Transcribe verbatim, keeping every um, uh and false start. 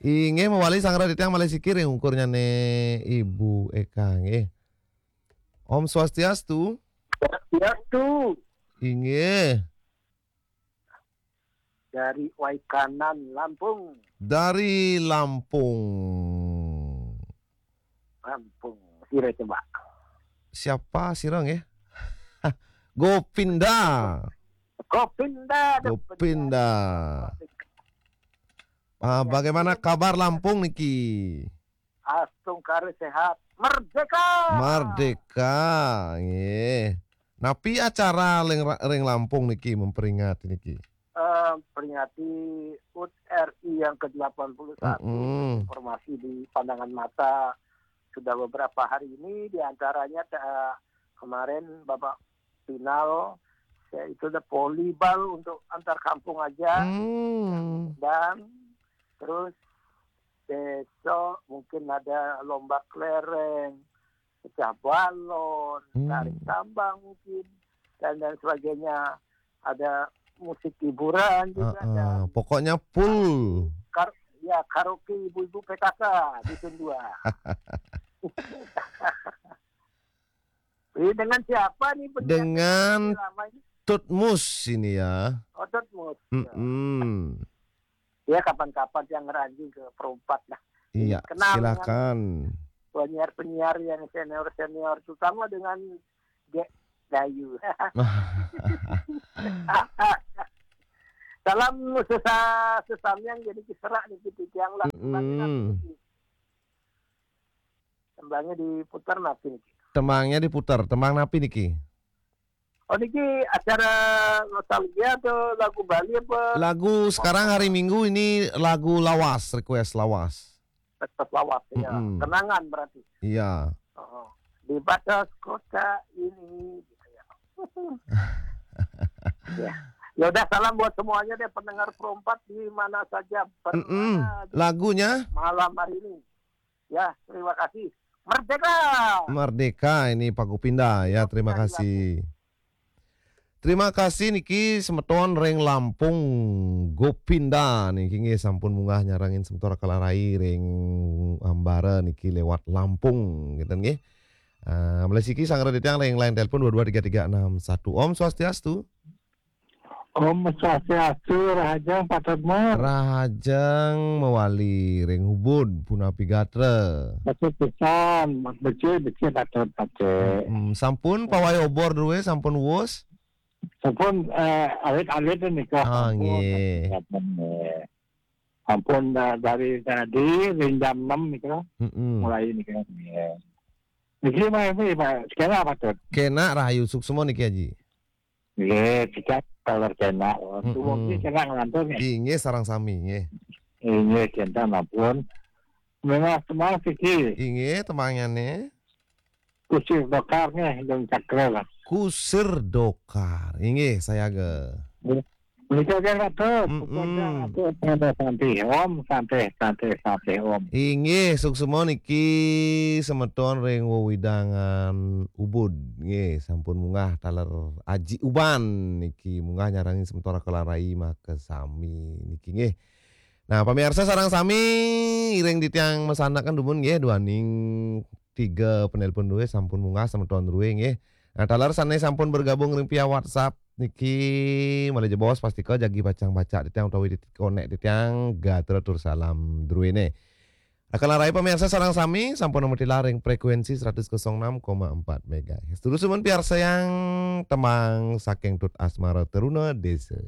Inggih mawali sangra titiang malih siki ring ungkurnyané Ibu Eka nggih. Om Swastiastu. Swastiastu. Inggih. Dari Waikanan, Lampung. Dari Lampung. Lampung. Sira coba. Siapa sira nggih? Gopinda. Gopinda. Gopinda. Ah, bagaimana kabar Lampung niki? Astungkara sehat. Merdeka. Merdeka, nggih. Napi acara ring, ring Lampung niki memperingati niki? Eh, peringati hut R I yang ke delapan puluh satu. Mm-mm. Informasi di pandangan mata sudah beberapa hari ini, di antaranya, eh, kemarin Bapak final, yaitu ada volleyball untuk antar kampung aja. Hmm. Dan terus besok mungkin ada lomba kelereng, pecah balon, hmm, tarik tambang mungkin, dan dan sebagainya. Ada musik hiburan juga. Heeh, dan pokoknya full. Kar-, ya, karaoke ibu-ibu P K K Dusun dua. Ini dengan siapa nih penyiar? Dengan Tut Mus ini ya. Oh, Tut Mus. Mm-mm. Ya, kapan-kapan yang ngeranjing ke Perumpat lah. Iya, kenal silakan. Penyiar-penyiar yang senior-senior, terutama dengan Dek Dayu. Salam sesa-, sesamian jadi diserak nih gitu, tiang lah. Mm-mm. Tembangnya diputar napi niki? Tembangnya diputar, tembang napi niki? Oh, niki acara nostalgia atau lagu Bali apa? Lagu sekarang hari Minggu ini lagu lawas, request lawas. Request lawas, ya. Mm-mm. Kenangan berarti. Iya. Oh, di batas kota ini, gitu ya. Ya. Ya udah, salam buat semuanya deh, pendengar Pro empat di mana saja, berada di malam hari ini. Mm-mm. Lagunya? Ya, terima kasih. Merdeka! Merdeka ini Pak Gopinda ya, terima kasih. Terima kasih niki semeton ring Lampung, Gopinda niki nggih sampun munggah nyarengin semeton Kalarai ring ambara niki lewat Lampung, gitu nggih. Ah, malih siki sangra titiang ring line telepon dua dua tiga tiga enam satu. Om Swastiastu. Om Swastiastu, rahajeng Patut Mur. Rahajeng mawali ring Ubud, punapi gatra? Patut pisan, becik, becik Patut, becik. Hmm, sampun pawai obor drué, sampun wus? Sampun, eh, alit-alit nika. Ah, sampun, nggih. Sampun, nggih. Sampun da-, dari tadi, ring jam enam nika. Mm-mm. Mulai nika, nggih. Niki mah, ini, Pak, sekarang apa, Tut? Kénak rahayu suksma niki, Aji. Nggih, cicak taler kénak. Mm-mm. Tuwuh niki kénak nglantur nggih. Inggih, sareng sami, nggih. Inggih, kénten ampun. Memang semua siki. Inggih, tembangnyané. Kusir Dokar nggih, Gung Cakra lah. Kusir Dokar. Inggih, sayaga. Nggih. Menika nggih, Ratu. Mm-mm. Puput, Ratu, santai, santai, Om, santai, santai, santai, Om. Inggih, suksma niki semeton ring wewidangan Ubud. Nggih, sampun munggah taler Aji Uban niki munggah nyarengin semeton Kalarai makasami niki nggih. Nah, pamiarsa sareng sami, iring titiang masandekan dumun nggih, duaning tiga penelpon drué sampun munggah semeton drué nggih. Nah, taler sané sampun bergabung ring via WhatsApp niki malih jebos pastika jagi pacang baca titiang utawi tit-, konek titiang gatra tur salam druéné. Kalarai pamiarsa sareng sami sampun nametilar ring frekuensi seratus kosong enam koma empat megahertz. Terus suman piarsayang tembang saking Tut Asmara Teruna Desa.